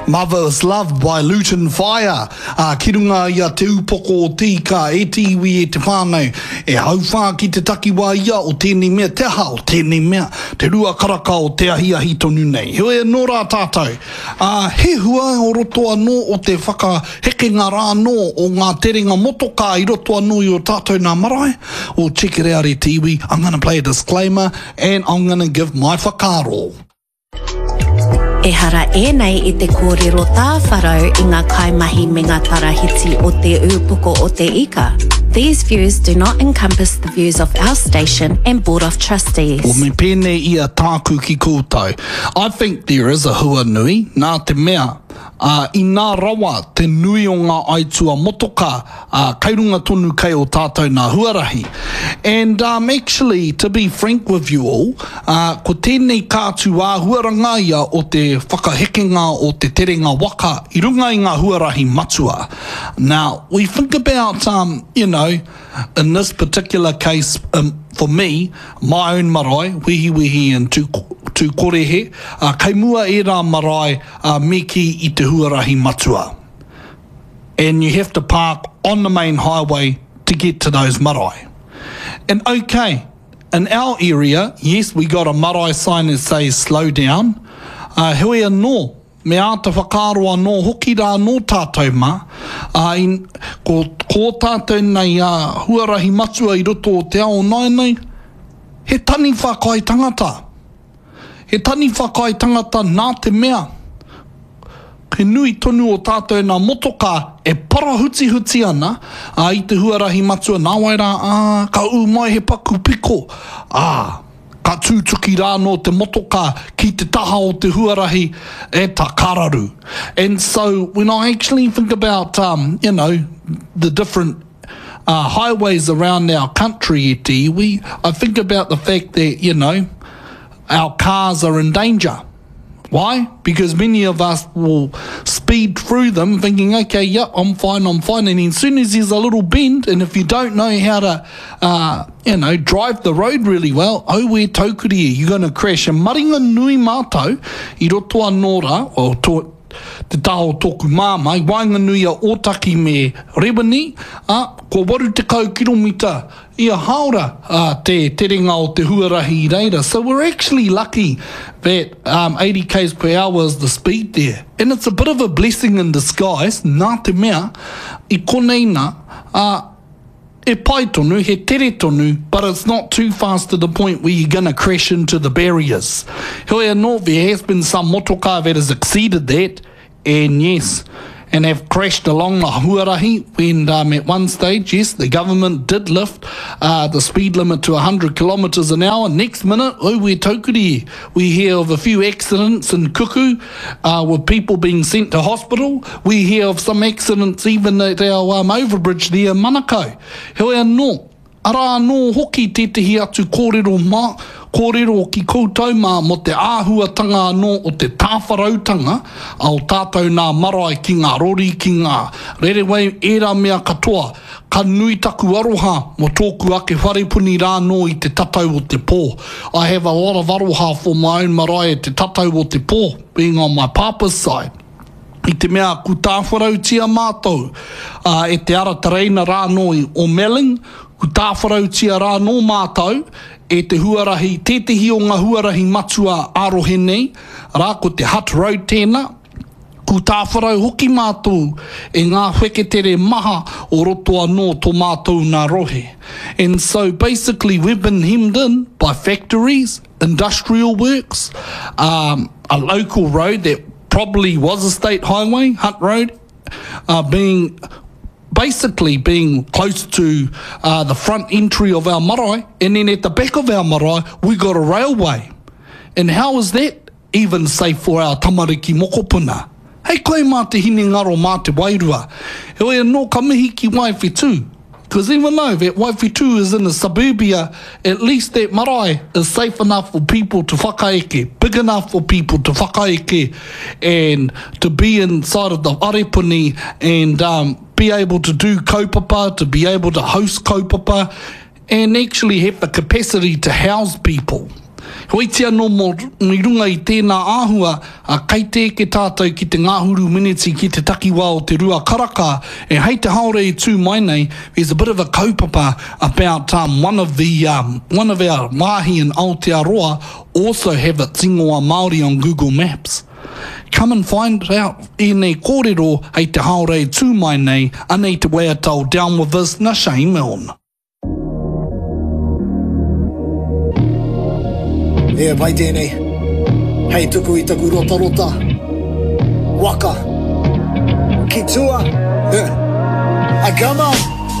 Mother's Love by Luton Fyah, ā, ki runga i a Te Upoko o Te Ika, e te iwi, e te whānau, e hauwhā ki te takiwā ia o tēnei mea, te aha o tēnei mea, te rua karaka o te ahiahi tonu nei. Heoi anō rā tātou, ā, he hua o roto anō o te whakahekenga rā anō o ngā terenga motokā i roto anō i ō tātou nā marae, o check it out e te iwi, I'm gonna play a disclaimer and I'm gonna give my whakaaro. Ehara ēnei i te kōrero tāwharau i ngā kaimahi me ngā tarahiti o Te Ūpoko o Te Ika. These views do not encompass the views of our station and Board of Trustees. Well, me pēnei ia tāku ki koutou. I think there is a hua nui, nā te mea, ā, inā rawa te nui o ngā aitua motokā, ā, kei runga tonu kei o tātou nā huarahi. And um, actually, to be frank with you all, ā, ko tēnei kātū āhuaranga ia o te whakahekenga o te terenga waka i runga i ngā huarahi matua. Now, we think about, um, you know, in this particular case, um, for me, my own marae, Wehiwehi and Tū, Tūkorehe, ā, kei mua ērā marae, ā, me kī i te huarahi matua. And you have to park on the main highway to get to those marae. And okay, in our area, yes, we got a marae sign that says slow down, ā, heoi anō, me āta whakaaro anō hoki rā anō tātou mā, ā, in, ko, ko ō tātou nei, ā, huarahi matua i roto o te ao nāianei, he taniwha kai tangata. He taniwha kai tangata nā te mea, he nui tonu o tātou nā motokā e parahutihuti ana, ā, i te huarahi matua, nāwai rā, ā, ka ū mai he paku piko, ā, ka tūtuki rā anō te motokā ki te taha o te huarahi, e ta, ka raru. And so, when I actually think about, um, you know, the different uh, highways around our country e te iwi, I think about the fact that, you know, our cars are in danger. Why? Because many of us will speed through them thinking, okay, yep, I'm fine, I'm fine. And as soon as there's a little bend, and if you don't know how to, uh, you know, drive the road really well, oh, we're taukuri, you're going to crash. And maringa nui mātou, i roto anō rā, well, to, te taha o tōku māmā, i waenganui a Ōtaki me Rewini, ā, kua 80 kiromita ia hāora te terenga o te huarahi i reira. So we're actually lucky that um, 80 k's per hour is the speed there. And it's a bit of a blessing in disguise, nā te mea, i konei nā, ā, E pai tonu, he tere tonu, but it's not too fast to the point where you're gonna crash into the barriers. Heoi anō, there has been some motokā that has exceeded that, and yes, and have crashed along the huarahi when um, at one stage, yes, the government did lift uh, the speed limit to 100 kilometres an hour. Next minute, oh, we're taukuri. We hear of a few accidents in Kuku uh, with people being sent to hospital. We hear of some accidents even at our um, overbridge there in Manukau. Heoi anō, arā anō hoki tētehi atu kōrero mā, kōrero ki koutou mā mō te āhuatanga anō o te tāwharautanga a o tātou nā marae ki ngā rori, ki ngā rerewei, ērā mea katoa. Ka nui taku aroha mō tōku ake wharepuni rā anō i te tatau o te pō. I have a lot of aroha for my own marae at te tatau o te pō, being on my papa's side. I te mea ku tāwharautia mātou e te ara tereina rā anō i o Melling, ku tāwharautia rā anō mātou e te huarahi, tētehi o ngā huarahi matua ā-rohe nei, arā, ko te Hutt Road tēnā, Ku tāwharau hoki mātou e ngā wheketere maha o roto anō tō mātou nā rohe. And so basically we've been hemmed in by factories, industrial works, um, a local road that probably was a state highway, Hutt Road, uh, being basically being close to uh, the front entry of our marae, and then at the back of our marae, we got a railway. And how is that even safe for our tamariki mokopuna. Hei koe mā te hinengaro, mā te wairua. Heoi anō ka mihi ki Waiwhetū. Because even though that Waiwhetū is in the suburbia, at least that marae is safe enough for people to whakaeke, big enough for people to whakaeke and to be inside of the wharepuni and um, be able to do kaupapa, to be able to host kaupapa and actually have the capacity to house people. Heoiti anō mō i runga i tēnā āhua, ā, kei te eke tātou ki te ngahuru meneti ki te takiwā o te rua karaka, e hei te haora e tū mai nei, there's a bit of a kaupapa about um, one of the, um, one of our wāhi in Aotearoa also have its ingoa Māori on Google Maps. Come and find out ēnei kōrero hei te haora e tū mai nei, anei te waiata o Down With This na Shane Milne. E pai tēnei. Hei tuku i taku rotarota. Waka. Ki tua. A come on.